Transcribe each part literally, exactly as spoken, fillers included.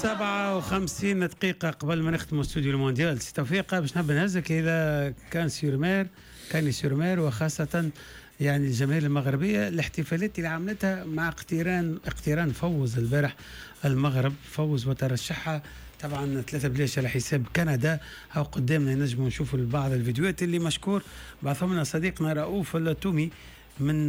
سبعة وخمسين دقيقة قبل ما نختم استوديو المونديال، سي توفيق باش نحب نهزك إلى كان-سور-مير، كاني-سور-مير، وخاصة يعني الجماهير المغربية الاحتفالات اللي عملتها مع اقتران اقتران فوز البارح المغرب، فوز وترشحها طبعا ثلاثة بلاش على حساب كندا. أو قدامنا نجموا نشوفوا بعض الفيديوهات اللي مشكور بعثهم لنا صديقنا رؤوف التومي من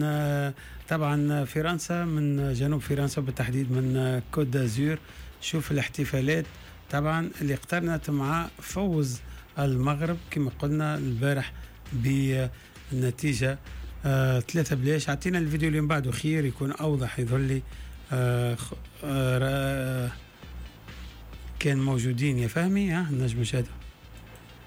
طبعا فرنسا، من جنوب فرنسا بالتحديد من كوت دازور. شوف الاحتفالات طبعا اللي اقترنت مع فوز المغرب كما قلنا البارح بالنتيجة آه ثلاثة بلاش. اعطينا الفيديو اللي من بعده خير يكون أوضح، يظهر لي آه آه كان موجودين يا فهمي، ها نجم نشاهده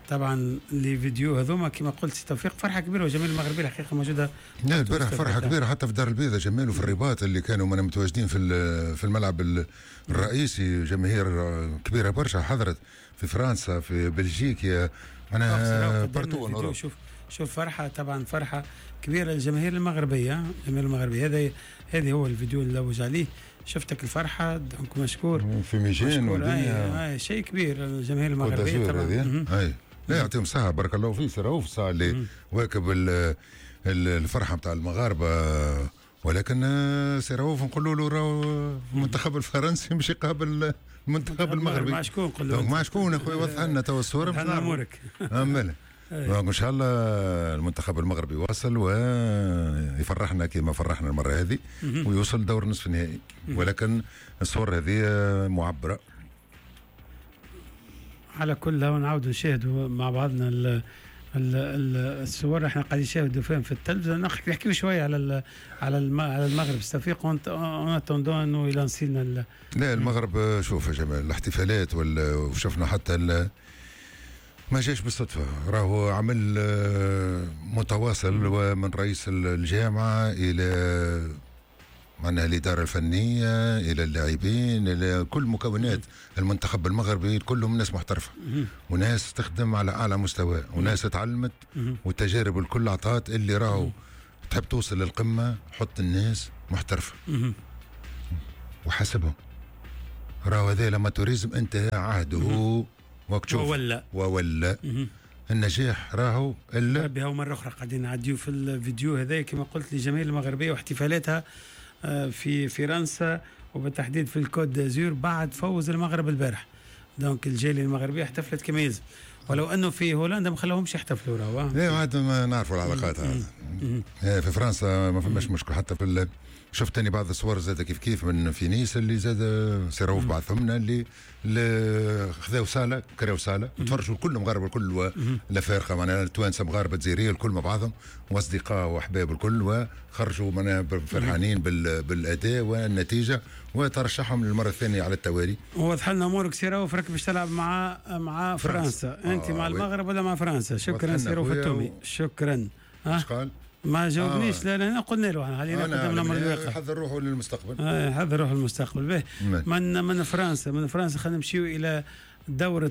طبعا les vidéos هذوما. كما قلت سي توفيق فرحه كبيرة وجماهير المغربية الحقيقة موجودة. لا البارح فرحه كبيرة حتى في دار البيضاء جمال وفي الرباط اللي كانوا من متواجدين في في الملعب الرئيسي، جماهير كبيرة برشا حضرت في فرنسا في بلجيكا معناها partout. شوف شوف فرحه طبعا فرحه كبيرة للجماهير المغربية، الجماهير المغربية. هذا هذا هو الفيديو اللي لوج عليه، شفتك الفرحة donc مشكور في ميجين والدنيا شيء كبير الجماهير المغربية طبعا. اي لا يعطيهم الصحة بارك الله فيه سي رؤوف الساعة اللي واكب الفرحة نتاع المغاربة، ولكن سي رؤوف نقولوا له راهو المنتخب الفرنسي مش يقابل المنتخب المغربي. مع شكون نقول له؟ مع شكون اخويا وضح لنا تو الصورة باش امورك. امال ان شاء الله المنتخب المغربي يواصل ويفرحنا كما فرحنا المرة هذه ويوصل دور نصف النهائي، ولكن الصور هذه معبرة. على كل نعاودوا نشاهدوا مع بعضنا ال ال الصور احنا قاعدين نشاهدوا فيهم في التلفزة. نحكيو شوية على على على المغرب سي توفيق en attendant انه يلانسينا. لا المغرب شوف يا جمال الاحتفالات وشفنا حتى ما جاش بالصدفة، راهو عمل متواصل ومن رئيس الجامعة الى معناها الإدارة الفنية إلى اللاعبين إلى كل مكونات المنتخب المغربي، كلهم ناس محترفة وناس تخدم على أعلى مستوى وناس تعلمت والتجارب الكل عطات اللي راهو تحب توصل للقمة حط الناس محترفة وحاسبهم. راهو هذا l'amateurisme انتهى عهده وقت شوف ولا ولا النجاح راهو الا ربي. هو مرة أخرى قاعدين نعديو في الفيديو هذا كما قلت لجماهير المغربية واحتفالاتها في فرنسا وبالتحديد في الكوت دازور بعد فوز المغرب البارح. donc الجالية المغربية احتفلت كما يلزم، ولو انه في هولندا ما خلاهمش يحتفلوا راهو. ايه عاد ما نعرفوا العلاقات هذا. في فرنسا ما فماش مشكل حتى في شفت ثاني بعض الصور زاد كيف كيف من في نيس اللي زاد سي رؤوف بعثهم لنا اللي, اللي خذاو صاله كراو صاله وتفرجوا الكل مغاربة الكل الافارقة معناها التوانسة مغاربة جزائرية الكل مع بعضهم واصدقاء واحباب الكل، وخرجوا معناها فرحانين بالاداء والنتيجة وترشحهم للمرة الثانية على التوالي. وضح لنا امورك سي رؤوف، راك باش تلعب مع مع فرنسا, فرنسا. انت آه مع المغرب ولا مع فرنسا؟ شكرا سي رؤوف التومي، شكرا. اش قال؟ ما جاوبنيش. آه. لا لا قلنا له خلينا قدام الامر الواقع. حضر روحه للمستقبل. آه حضر روحه للمستقبل. به من من فرنسا من فرنسا خلينا نمشيو الى دورة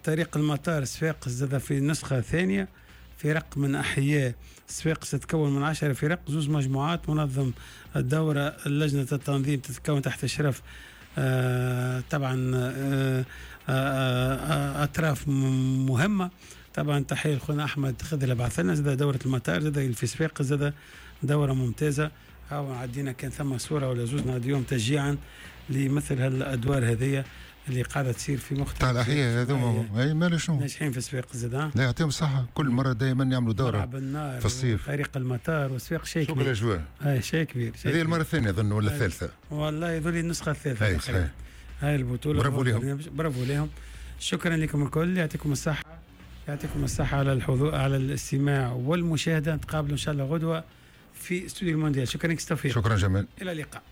طريق المطار صفاقس زاد في النسخة الثانية. فرق من احياء صفاقس تتكون من عشرة فرق، زوز مجموعات. منظم الدورة لجنة التنظيم تتكون تحت اشراف آه طبعا آه آه اطراف مهمة. طبعا تحية لخونا احمد خذ بعث لنا زاد دوره المطار زاد في صفاقس زاد دوره ممتازة. هاو عدينا كان ثم صوره ولا زوز نعديهم تشجيعا لمثل هالادوار هذيا اللي قاعدة تصير في مختلف تاع الاحياء هذوما. اي مال شنو ناجحين في صفاقس زاد. لا يعطيهم الصحة كل مرة دائما يعملوا دوره في الصيف طريق المطار وصفاق شيء كبير. الاجواء اي شيء كبير. هذه المرة الثانية اظن ولا الثالثة؟ والله يظل النسخة الثالثة. اي صحيح. هاي البطولة برافو لهم، برافو لهم. شكرا لكم الكل، يعطيكم الصحة، يعطيكم الصحة على الحضور على الاستماع والمشاهدة. نتقابلوا إن شاء الله غدوة في استوديو المونديال. شكرا لك توفيق. شكرا جمال، إلى اللقاء.